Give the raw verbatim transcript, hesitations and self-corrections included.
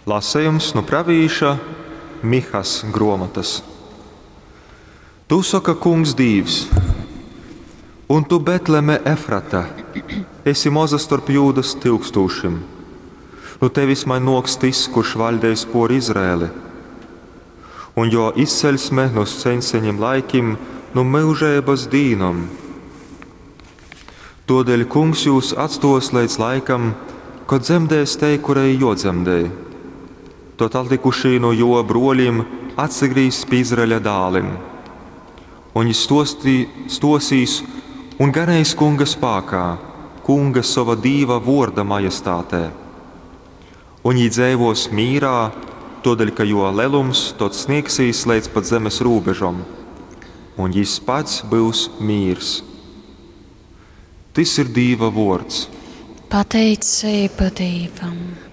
Lasejums nu pravīša Mihas gruomotys. Tū soka Kungs Dīvs, Un tu, Betleme Efrata, esi moza storp Jūdas tyukstūšim. Nu tevis maņ nōks tys, kurš vaļdeis pōr Izraeli. Un jō izceļsme nu seņseņim laikim, nu myužeibas dīnom. Tōdēļ Kungs jūs atstōs leidz laikam, kod dzemdēs tei, kurai jōdzemdej. Tod atlikušī nu jō brōļim atsagrīzs pi Izraeļa dālim. Un jys stōstī, stōsīs un ganeis Kunga spākā, Kunga sova Dīva vōrda majestātē. Un jī dzeivōs mīrā, tōdēļ ka jō lelums tod sniegsīs leidz pat zemes rūbežom, un jys pats byus mīrs. Tys ir Dīva vōrds. Pateiceiba Dīvam.